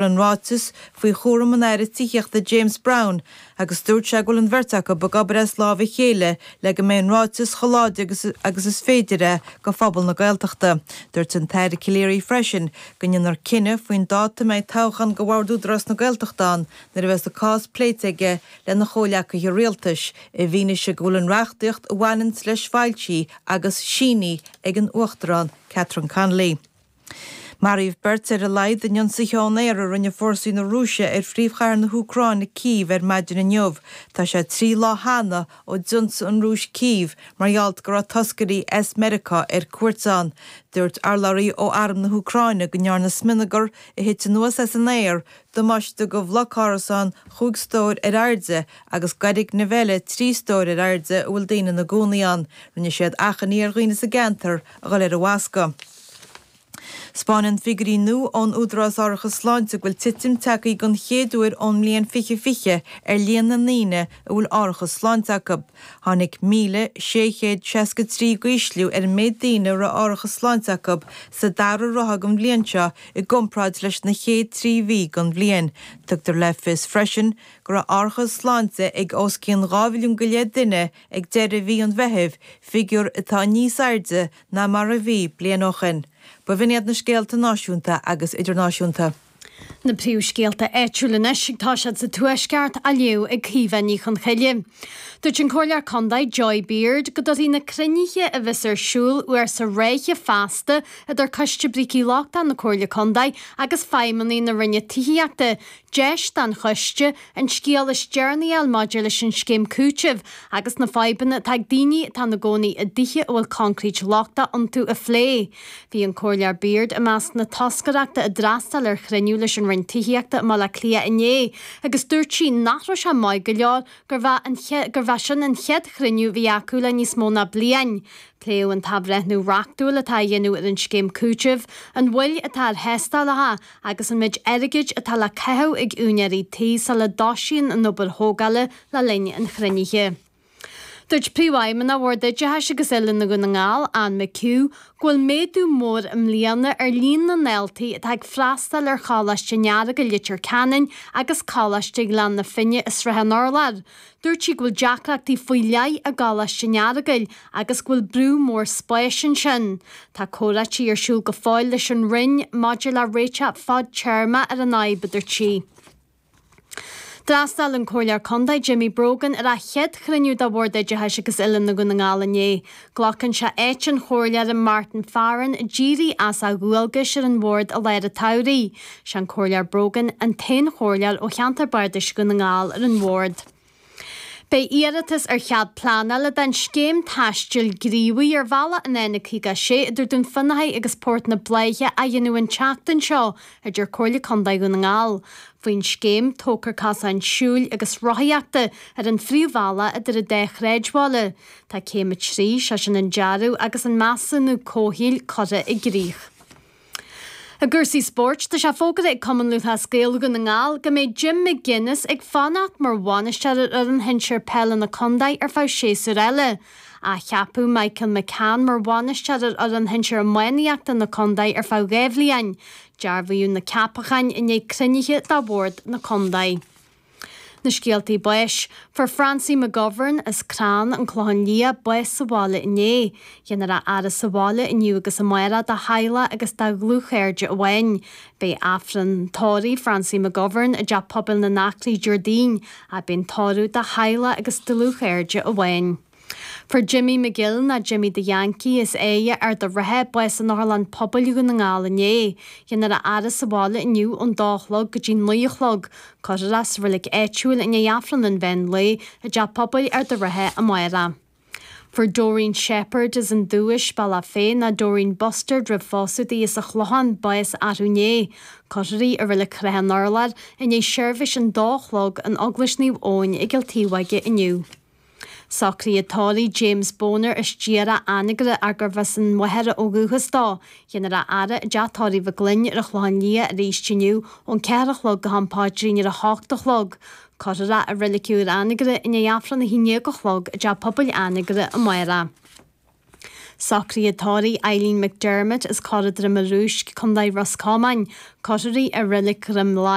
An ráiteas faoi chúram an Aire Tithíochta James Browne agus dúirt sé go bhfuil an bheirt acu ag obair as lámh a chéile le go mbeidh an ráiteas chomh láidir agus is féidir é go phobal na Gaeltachta. Dúirt an tAire Calleary freisin go ndéanfar cinneadh faoin dáta a mbeidh toghchán go Bhord Údarás na Gaeltachta ann nuair a bheas an cás pléite aige lena chomhleacaithe rialtais, i bhfianaise go bhfuil an reachtaíocht a bhaineanns leis foilsithe agus sínithe ag an Uachtarán Catherine Connolly. Maraíodh beirt ar a laghad in ionsaithe ón aer a rinne fórsaí na Rúise ar phríomhchathair na hÚcráine, Cív, ar maidin inniu. Tá sé 3 lá cheana ó d'ionsaigh an Rúis Cív mar gheall go raibh toscairí as Meiriceá ar cuairt ann. Dúirt urlabhraí ó Arm na hÚcráine go ndearna smionagar a thit anuas as an aer damáiste do bhloc árasán chúig stór ar airde agus d'fhoirgneamh eile 3 stór ar airde a bhfuil daoine ina gcónaí ann. Rinne siad achainí ar dhaoine sa gceantar a dhul ar a bhfoscadh. 'Spáineann figiúirí nua ón Údarás Árachas Sláinte go bhfuil titim tagtha den chéad uair ón mbliain 2020 ar líon na ndaoine a bhfuil árachas sláinte acu. Tháinig 1,663 d'ísliú ar an méid daoine a raibh árachas sláinte acu sa dara ráithe den bhliain seo i gcomparáid leis na chéad 3 mhí den bhliain. Tugtar le fios freisin go raibh árachas sláinte ag os cionn 2 mhilliún go leith duine ag deireadh mhí an Mheithimh, figiúr atá níos airde ná mar a bhí bliain ó shin. B'in iad na scéalta náisiúnta agus idirnáisiúnta. Na príomhscéalta áitiúil anois ag toiseacht sa Tuaisceart á léamh ag Caoimhe Ní Chonchoille. Dúirt an Comhairleoir Contae Joy Beard go dtabharfaidh na cruinnithe a bheas ar siúl uair sa ráithe feasta idir Coiste Brící Lochtacha na Comhairle Contae agus feidhmeannaigh na Roinne Tithíochta deis don choiste an scéal is deireanaí a fháil maidir leis an scéim cúitimh agus na fadhbanna atá ag daoine atá ina gcónaí i dtithe a bhfuil concrete lochtach iontu a phlé. Bhí an Comhairleoir Beard i measc na toscaireachta a d'fhreastail ar chruinniú leis an Roinn Tithíochta i mBaile Átha Cliath inné agus dúirt sí nach raibh sé maith go leor gurbh é sin an chéad chruinniú a bhí acu le níos mó ná bliain. Pléadh an t-athbhreithniú reachtúil atá á dhéanamh ar an scéim cúitimh, an mhoill atá ar thástálacha agus an méid airgid atá le caitheamh ag úinéirí tí sula dtosaíonn an obair thógála le linn an chruinnithe. Dúirt Príomhfheidhmeannach Bhord Oideachais agus Oiliúna Dhún na nGall, Anne McHugh, go bhfuil méadú mór i mbliana ar líon na ndaltaí atá ag freastal ar Choláiste an Earagail i Leitir Ceanainn agus Coláiste Ghleann na Finne i Srath an Urláir. Dúirt sí go bhfuil deacrachtaí faoi leith i gColáiste an Earagail agus go bhfuil brú mór spáis ansin. Tá comhráití ar siúl go fóill leis an Roinn maidir le réiteach fadtéarma ar an fhadhb, a dúirt sí. D'fhreastail an Comhairleoir Contae Jimmy Brogan ar a chéad chruinniú de Bhord Oideachais agus Oiliúna Dhún na nGall inné. Glacann sé áit an Chomhairleora Martin Farren a d'éirigh as a dhualgais ar an bhord i lár an tsamhraidh. Sé an Comhairleoir Brogan an t-aon chomhairleoir ó cheantar bardais Dhún na nGall ar an bhord. Beidh iarratas ar chead pleanála don scéim taistil gníomhaigh ar bhealach an N56 idir Dún Fionnachaidh agus Port na Bláiche á dhéanamh an tseachtain seo, a deir Comhairle Contae Dhún na nGall. Faoin scéim, tógfar cosáin siúil agus rothaíochta ar an phríomhbhealach idir an dá shráidbhaile. Tá céim 3, sé sin an dearadh agus an measúnú comhshaoil, curtha i gcrích. I gcúrsaí spóirt, tá sé fógartha ag Cumann Lúthchleas Gael Dhún na nGall go mbeidh Jim McGuinness ag fanacht mar bhainisteoir ar fhoireann shinsir peile na contae ar feadh séasúir eile. Athcheapadh Michael McCann mar bhainisteoir ar fhoireann shinsir iománaíochta na contae ar feadh 2 bhliain. Dearbhaíodh na ceapacháin i ndiaidh cruinnithe de bhord na contae. Na scéaltaí báis. Fuair Francie McGovern as Crann, An Clochán Liath, bás sa bhaile inné. Déanfar a fhaire sa bhaile inniu agus amárach dá theaghlach agus dá dhlúthchairde amháin. Beidh Aifreann tórraimh Francie McGovern i dTeach Pobail na nAcraí Déardaoin ach beidh an tórramh do theaghlach agus dlúthchairde amháin. Fuair Jimmy McGill, nó Jimmy the Yankee, as Éidhe, Ard a' Rátha, bás in Otharlann Pobail Dhún na nGall inné. Déanfar a fhaire sa bhaile inniu ón dó a chlog go dtí 9 a chlog. Cuirfear é sa reilig áitiúil i ndiaidh Aifreann an mheán lae i dTeach Pobail Ard a' Rátha amárach. Fuair Doreen Shepherd as an Dubhais, Bealach Féich, nó Doreen Bustard roimh phósadh di, as an Chlochán, bás arú inné. Cuirfear í i Reilig Shrath an Urláir i ndiaidh seirbhís an dó a chlog in Eaglais Naomh Eoin i gCill Taobh-Bhoige inniu. Socruithe tórraimh James Boner as Díreach, Anagaire ach gurbh as an Mhachaire ó dhúchas dó. Déanfar a fhaire i dteach tórraimh Mhic Gloinn ar an Chlochán Liath arís inniu ón 4 a chlog go ham paidrín ar a hocht a chlog. Cuirfear é i Reilig Úr Anagaire i ndiaidh Aifreann a haon déag a chlog i dTeach Pobail Anagaire amárach. Socruithe tórraimh Eileen McDermott as Corra Droma Rúisc, Co. Ros Comáin. Cuirfear í i Reilig Dhroim Láir.